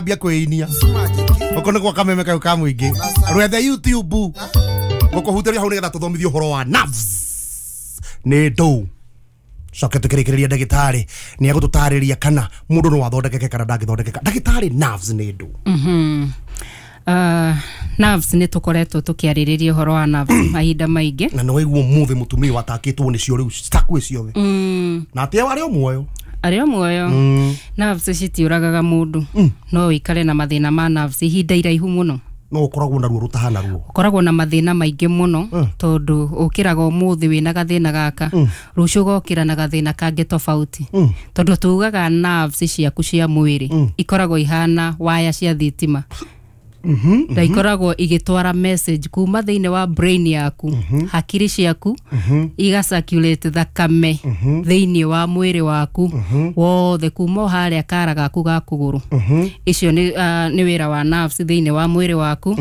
Ambia kwĩinia gũkũ nĩ gwa kameme kau ka mũingĩ rwethe YouTube gũkũhutĩria hau nĩgetha tũthomithie ũhoro wa nerves nĩ ndũ. Coke tũkĩrĩkĩrĩria ndagĩtarĩ nĩ egũtũtarĩria kana mũndũ no athondekeke kana ndangĩthondekeka. Ndagĩtarĩ, nerves nĩ ndũ? Nerves nĩ tũkoretwo tũkĩarĩrĩria ũhoro wa nerves mahinda maingĩ. Na nĩ waigua ũmũthĩ mũtumia watakĩtwo nĩcio rĩu citakuĩ ciothe na atĩ arĩ o muoyo. Arĩ o muoyo. Nerves citiũragaga mũndũ, no ũikare na mathĩna ma nerves ihinda iraihu mũno. No ũkoragwo na ruo rũtahana ruo. Ũkoragwo na mathĩna maingĩ mũno tondũ ũkĩraga ũmũthĩ wĩna gathĩna gaka, rũciũ ũgokĩra na gathĩna kangĩ tofauti, tondũ tugaga nerves ciaku cia mwĩrĩ ikoragwo ihana waya cia thitima na ikoragwo igĩtwara message kuma thĩinĩ wa brain yaku, hakiri ciaku iga circulate thakame thĩinĩ wa mwĩrĩ waku wothe kuma o harĩa kara gaku ga kũgũrũ. Icio nĩ wĩra wa nerves thĩinĩ wa mwĩrĩ waku,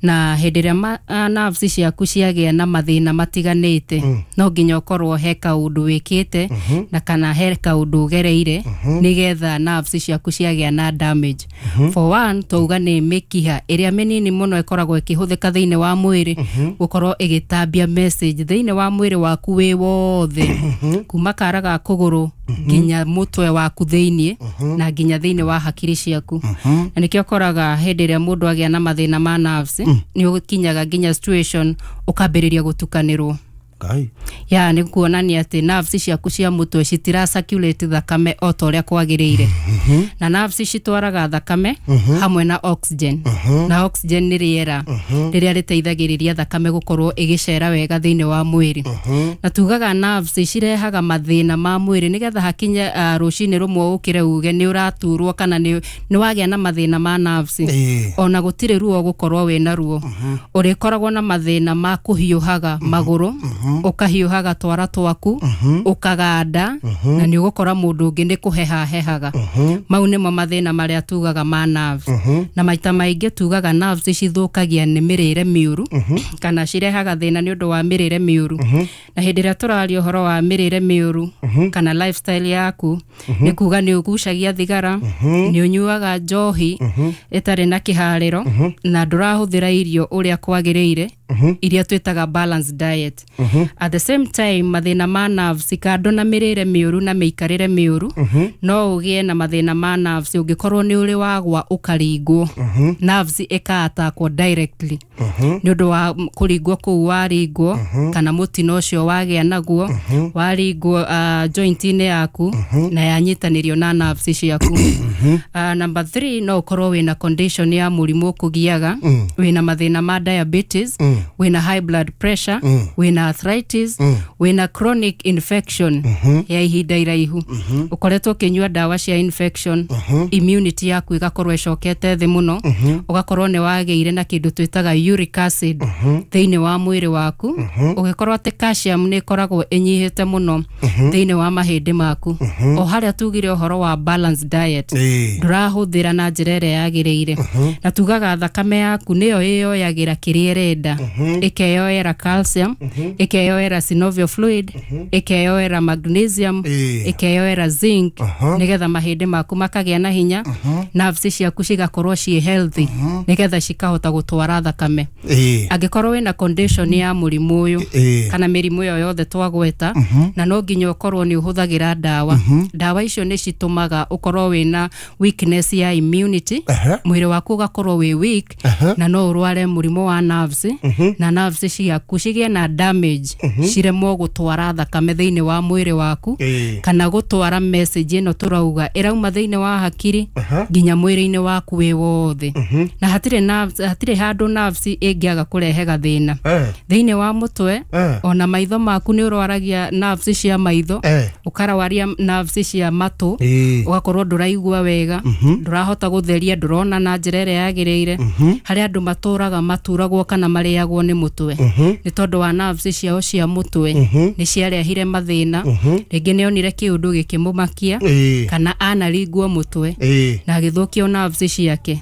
na hĩndĩ ĩrĩa nerves ciaku ciagĩa na mathĩna matiganĩte, no nginya ũkorwo he kaũndũ wĩkĩte na kana he kaũndũ ũgereire nĩgetha nerves ciaku ciagĩa na damage. For one, twauga nĩ mĩkiha ĩrĩa mĩnini mũno ĩkoragwo ĩkĩhũthĩka thĩinĩ wa mwĩrĩ gũkorwo ĩgĩtambia message thĩinĩ wa mwĩrĩ waku wĩ wothe, kuma kara ga kũgũrũ nginya mũtwe waku thĩinĩ na nginya thĩinĩ wa hakiri ciaku. Na nĩkĩo ũkoraga hĩndĩ ĩrĩa mũndũ agĩa na mathĩna ma nerves, nĩ ũkinyaga nginya situation ũkambĩrĩria gũtukanĩrwo. Ngai. Ya nĩ kuonania atĩ nerves ciaku cia mũtwe citira circulate thakame o ta ũrĩa kwagĩrĩire, na nerves citwaraga thakame hamwe na oxygen, na oxygen nĩ rĩera rĩrĩa rĩteithagĩrĩria thakame gũkorwo ĩgĩcera wega thĩinĩ wa mwĩrĩ. Na tugaga nerves cirehaga mathĩna ma mwĩrĩ nĩgetha hakinye rũcinĩ rũmwe ũkĩre uge nĩ ũraturwo kana nĩ wagĩa na mathĩna ma nerves, ona gũtirĩ ruo gũkorwo wĩna ruo, ũrĩkoragwo na mathĩna ma kũhiũhaga magũrũ, ũkahiũhaga twara twaku, ũkaganda, na nĩ ũgũkora mũndũ ũngĩ nĩ kũheha hehaga. Mau nĩmo mathĩna marĩa tugaga ma nerves. Na maita maingĩ tugaga nerves cithũkagia nĩ mĩrĩre mĩũru kana cirehaga thĩna nĩ ũndũ wa mĩrĩre mĩũru. Na hĩndĩ ĩrĩa tũraria ũhoro wa mĩrĩre mĩũru kana lifestyle yaku, nĩ kuga nĩ ũgucagia thigara, nĩ ũnyuaga njohi ĩtarĩ na kĩharĩro, na ndũrahũthĩra irio ũrĩa kwagĩrĩire, iria twĩtaga balanced diet. At the same time, mathĩna ma nerves kando na mĩrĩre mĩũru na mĩikarĩre mĩũru, no ũgĩe na mathĩna ma nerves ũngĩkorwo nĩ ũrĩ wagwa ũkaringwo, nerves ĩka-attackwo directly nĩ ũndũ wa kũringwo kũu waringwo kana mũtino ũcio wagĩa naguo waringwo joint-inĩ yaku na yanyitanĩrio na nerves ciaku. Number three, no ũkorwo wĩna condition ya mũrimũ ũkũgiaga, wĩna mathĩna ma diabetes, wĩna high blood pressure, wĩna arthritis, wĩna chronic infection ya ihinda iraihu, ũkoretwo ũkĩnyua ndawa cia infection, immunity yaku ĩgakorwo ĩcokete thĩ mũno, ũgakorwo nĩ wagĩire na kĩndũ twĩtaga uric acid thĩinĩ wa mwĩrĩ waku, ũgĩkorwo atĩ calcium nĩ ĩkoragwo ĩnyihĩte mũno thĩinĩ wa mahĩndĩ maku. O harĩa tugire ũhoro wa balanced diet, ndũrahũthĩra na njĩra ĩrĩa yagĩrĩire. Na tugaga thakame yaku nĩyo ĩyoyagĩra kĩrĩa ĩrenda, ĩkeyoera calcium, ĩkeyoera synovial fluid, ĩkeyoera magnesium, ĩkeyoera zinc, nĩgetha mahĩndĩ maku makagĩa na hinya, nerves ciaku cigakorwo ciĩ healthy nĩgetha cikahota gũtwara thakame. Angĩkorwo wĩna condition ya mũrimũ ũyũ kana mĩrimũ ĩyo yothe twagweta, na no nginya ũkorwo nĩ ũhũthagĩra ndawa, ndawa icio nĩ citũmaga ũkorwo wĩna weakness ya immunity, mwĩrĩ waku ũgakorwo wĩ weak, na no ũrware mũrimũ wa nerves na nerves ciaku cigĩe na damage, ciremwo gũtwara thakame thĩinĩ wa mwĩrĩ waku kana gũtwara message ĩno tũrauga ĩrauma thĩinĩ wa hakiri nginya mwĩrĩ-inĩ waku wĩ wothe. Na hatirĩ nerves, hatirĩ handũ nerves ĩngĩaga kũrehe gathĩna thĩinĩ wa mũtwe. Ona maitho maku nĩ ũrwaragia nerves cia maitho, ũkarawaria nerves cia matũ, ũgakorwo ndũraigua wega, ndũrahota gũtheria, ndũrona na njĩra ĩrĩa yagĩrĩire. Harĩ andũ matũraga maturagwo kana marĩagwo nĩ mũtwe nĩ tondũ wa nerves ciao. ciao cia mũtwe nĩ ciarehire mathĩna, rĩngĩ nĩ onire kĩũndũ gĩkĩmũmakia kana anaringwo mũtwe na agĩthũkio nerves ciake.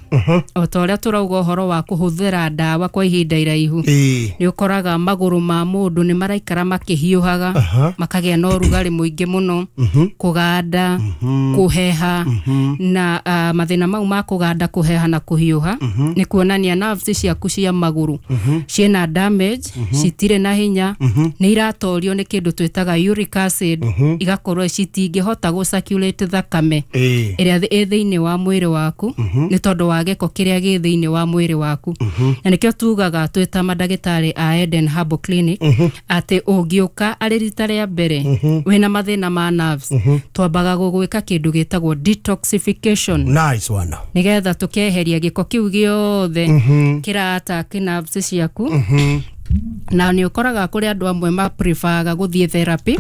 O ta ũrĩa tũrauga ũhoro wa kũhũthĩra ndawa kwa ihinda iraihu, nĩ ũkoraga magũrũ ma mũndũ nĩ maraikara makĩhiũhaga, makagĩa na ũrugarĩ mũingĩ mũno, kũganda, kũheha, na mathĩna mau ma kũganda, kũheha na kũhiũha nĩ kuonania nerves ciaku cia magũrũ ciĩna damage, citirĩ na hinya, nĩ iratorio nĩ kĩndũ twĩtaga uric acid, igakorwo citingĩhota gũ circulate thakame ĩrĩa ĩ thĩinĩ wa mwĩrĩ waku nĩ tondũ wa gĩko kĩrĩa gĩ thĩinĩ wa mwĩrĩ waku. Na nĩkĩo tugaga twĩ ta mandagĩtarĩ a Eden Herbal Clinic atĩ ũngĩũka arĩ rita rĩa mbere wĩna mathĩna ma nerves, twambaga gũgwĩka kĩndũ gĩtagwo detoxification. Nice one. Nĩgetha tũkeheria gĩko kĩu gĩothe kĩra attack nerves ciaku. Na nĩ ũkoraga kũrĩ andũ amwe ma preferaga gũthiĩ therapy,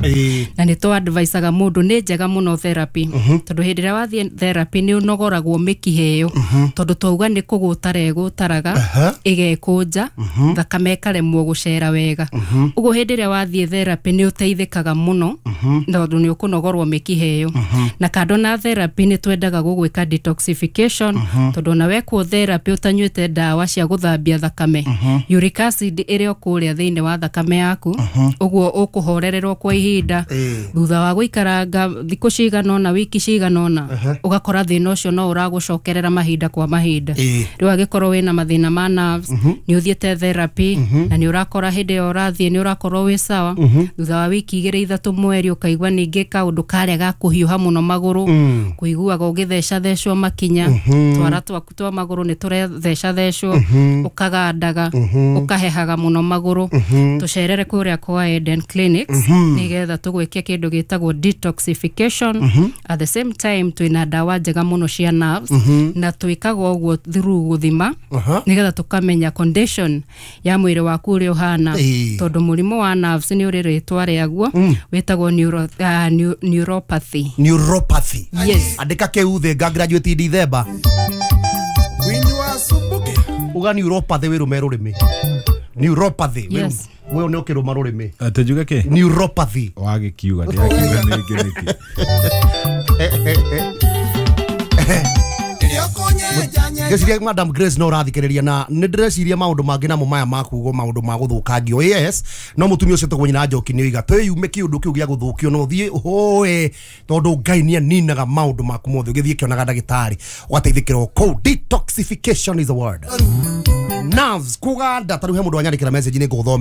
na nĩ tũ advisaga mũndũ nĩ njega mũno therapy, tondũ hĩndĩ ĩrĩa wathiĩ therapy nĩ ũnogoragwo mĩkiha ĩyo, tondũ twauga nĩ kũgũtara ĩgũtaraga ĩgekũnja, thakame ĩkaremwo gũcera wega. Ũguo hĩndĩ ĩrĩa wathiĩ therapy nĩ ũteithĩkaga mũno, tondũ nĩ ũkũnogorwo mĩkiha ĩyo. Na kando na therapy nĩ twendaga gũgwĩka detoxification, tondũ ona wekwo therapy ũtanyuĩte ndawa cia gũthambia thakame, uric acid ĩrĩ o kũrĩa thĩinĩ wa thakame yaku, ũguo ũkũhorererwo kwa ihinda. Thutha wa gũikaranga thikũ cigana ũna, wiki cigana ũna, ũgakora thĩna ũcio no ũragũcokerera mahinda kwa mahinda. Rĩu angĩkorwo wĩna mathĩna ma nerves, nĩ ũthiĩte therapy na nĩ ũrakora hĩndĩ ĩyo ũrathiĩ nĩ ũrakorwo wĩ sawa, thutha wa wiki 2 3 mweri ũkaigua ningĩ kaũndũ karĩa ga kũhiũha mũno magũrũ, kũiguaga ũgĩthecathecwo makinya, twara twaku twa magũrũ nĩ tũrethecathecwo, ũkagandaga, ũkahehaga mũno magũrũ, tũcerere kũrĩa kwa Eden Clinics nĩgetha tũgwĩke kĩndũ gĩtagwo detoxification. At the same time twĩna ndawa njega mũno cia nerves, na twĩkaga ũguo through gũthima nĩgetha tũkamenya condition ya mwĩrĩ waku ũrĩa ũhana, tondũ mũrimũ wa nerves nĩ ũrĩ rĩtwa rĩaguo, wĩtagwo neuropathy. Neuropathy. Yes. Andĩka kĩu thĩ nga graduate December. Uga neuropathy wĩrũme rũrĩmĩ. Neuropathy. Yes. Wewe nĩ ũkĩrũma rũrĩmĩ. Atĩ njuge kĩ? Neuropathy. Wagĩkiuga ndĩrakiuga nĩngĩ nĩkĩ. Ngeciria Madam Grace no ũrathikĩrĩria, na nĩ ndĩreciria maũndũ mangĩ namo maya ma kugo maũndũ ma gũthũkangio. Yes, no mũtumia ũcio tũgwo nyina Njoki nĩ oiga twĩyume kĩũndũ kĩu gĩa gũthũkio, no ũthiĩ ũhoe tondũ Ngai nĩ aninaga maũndũ maku mothe. Ũgĩthiĩ kĩonaga ndagĩtarĩ ũgateithĩkĩra kũu. Detoxification is the word. Nerves kũganda, ta rĩu he mũndũ wanyandĩkĩra message nĩ ngũthome.